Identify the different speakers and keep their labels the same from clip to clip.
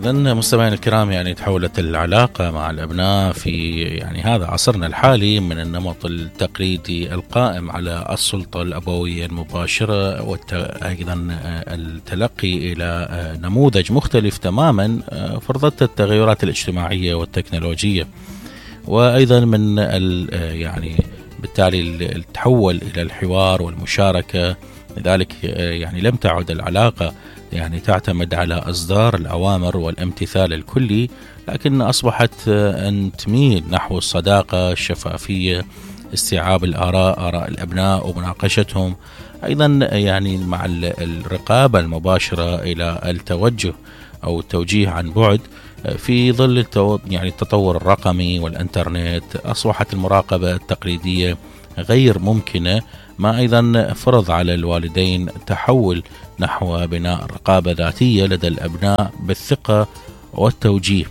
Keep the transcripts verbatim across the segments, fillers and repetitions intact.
Speaker 1: إذن مستمعينا الكرام، يعني تحولت العلاقة مع الأبناء في يعني هذا عصرنا الحالي من النمط التقليدي القائم على السلطة الأبوية المباشرة وأيضا التلقي إلى نموذج مختلف تماما فرضت التغيرات الاجتماعية والتكنولوجية، وأيضا من يعني بالتالي التحول إلى الحوار والمشاركة. لذلك يعني لم تعد العلاقة يعني تعتمد على إصدار الأوامر والامتثال الكلي، لكن أصبحت أن تميل نحو الصداقة، الشفافية، استيعاب الآراء آراء الأبناء ومناقشتهم، أيضا يعني مع الرقابة المباشرة إلى التوجه أو التوجيه عن بعد. في ظل يعني التطور الرقمي والإنترنت أصبحت المراقبة التقليدية غير ممكنة، ما أيضا فرض على الوالدين تحول نحو بناء رقابة ذاتية لدى الأبناء بالثقة والتوجيه.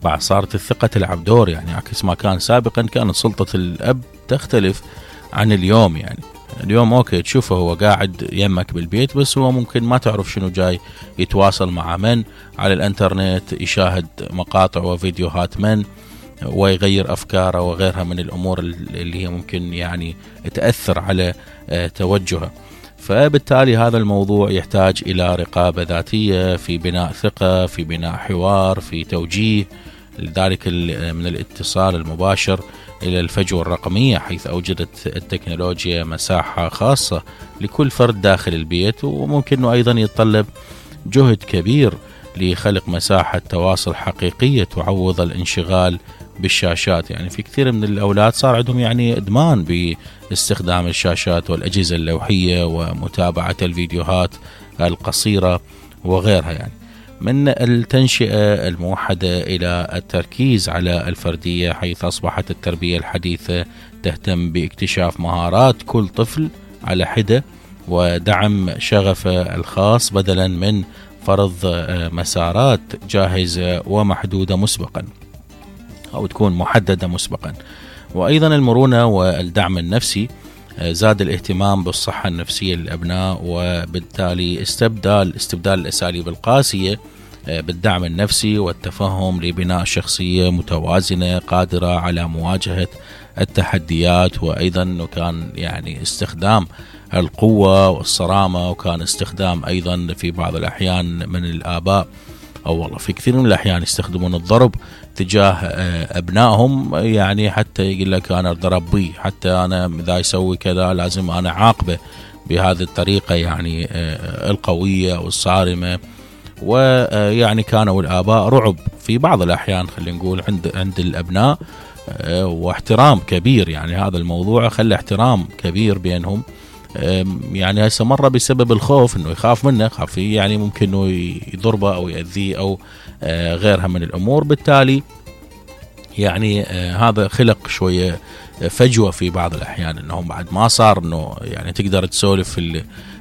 Speaker 1: بعد صارت الثقة تلعب دور، يعني عكس ما كان سابقا كانت سلطة الأب تختلف عن اليوم. يعني اليوم أوكي تشوفه هو قاعد يمك بالبيت، بس هو ممكن ما تعرف شنو جاي يتواصل مع من على الانترنت، يشاهد مقاطع وفيديوهات من، ويغير أفكاره وغيرها من الأمور اللي هي ممكن يعني تأثر على توجهه. فبالتالي هذا الموضوع يحتاج إلى رقابة ذاتية في بناء ثقة، في بناء حوار، في توجيه. لذلك من الاتصال المباشر إلى الفجوة الرقمية، حيث أوجدت التكنولوجيا مساحة خاصة لكل فرد داخل البيت، وممكن أيضا يتطلب جهد كبير لخلق مساحة تواصل حقيقية تعوض الانشغال بالشاشات. يعني في كثير من الأولاد صار عندهم يعني إدمان باستخدام الشاشات والأجهزة اللوحية ومتابعة الفيديوهات القصيرة وغيرها. يعني من التنشئة الموحدة إلى التركيز على الفردية، حيث أصبحت التربية الحديثة تهتم باكتشاف مهارات كل طفل على حدة ودعم شغفه الخاص، بدلا من فرض مسارات جاهزة ومحدودة مسبقا أو تكون محددة مسبقا. وأيضا المرونة والدعم النفسي، زاد الاهتمام بالصحة النفسية للأبناء، وبالتالي استبدال استبدال الأساليب القاسية بالدعم النفسي والتفهم لبناء شخصية متوازنة قادرة على مواجهة التحديات. وأيضا كان يعني استخدام القوة والصرامة، وكان استخدام أيضا في بعض الأحيان من الآباء أو والله في كثير من الأحيان يستخدمون الضرب تجاه أبنائهم، يعني حتى يقول لك أنا ضرب بي، حتى أنا إذا يسوي كذا لازم أنا عاقبه بهذه الطريقة يعني القوية والصارمة. ويعني كانوا الآباء رعب في بعض الأحيان خلينا نقول عند عند الأبناء، واحترام كبير. يعني هذا الموضوع خلى احترام كبير بينهم. يعني هسه مرة بسبب الخوف انه يخاف منه، خاف يعني ممكن انه يضربه او يأذيه او غيرها من الامور. بالتالي يعني هذا خلق شوية فجوة في بعض الاحيان، انهم بعد ما صار انه يعني تقدر تسولف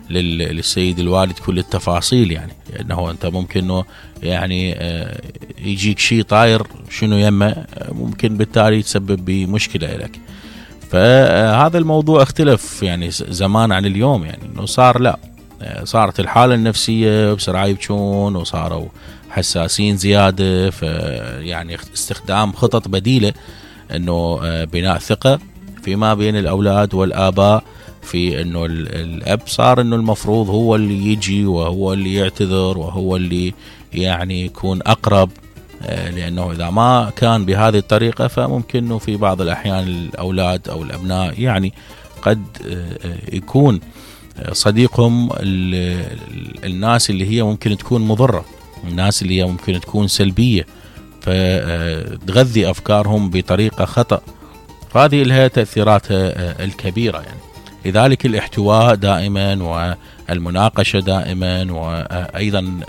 Speaker 1: للسيد الوالد كل التفاصيل، يعني انه انت ممكن انه يعني يجيك شيء طاير شنو يمه، ممكن بالتالي يتسبب بمشكلة لك. فهذا الموضوع اختلف يعني زمان عن اليوم، يعني انه صار لا صارت الحالة النفسية بسرعة يبكون وصاروا حساسين زيادة، فيعني استخدام خطط بديلة انه بناء ثقة فيما بين الاولاد والاباء، في انه الاب صار انه المفروض هو اللي يجي وهو اللي يعتذر وهو اللي يعني يكون اقرب، لأنه إذا ما كان بهذه الطريقة فممكن أنه في بعض الأحيان الأولاد أو الأبناء يعني قد يكون صديقهم الناس اللي هي ممكن تكون مضرة، الناس اللي هي ممكن تكون سلبية، فتغذي أفكارهم بطريقة خطأ. فهذه لها تأثيراتها الكبيرة. يعني لذلك الاحتواء دائما والمناقشة دائما، وأيضا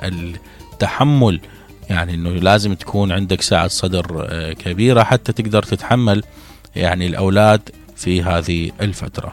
Speaker 1: التحمل، يعني انه لازم تكون عندك سعة صدر كبيرة حتى تقدر تتحمل يعني الاولاد في هذه الفترة.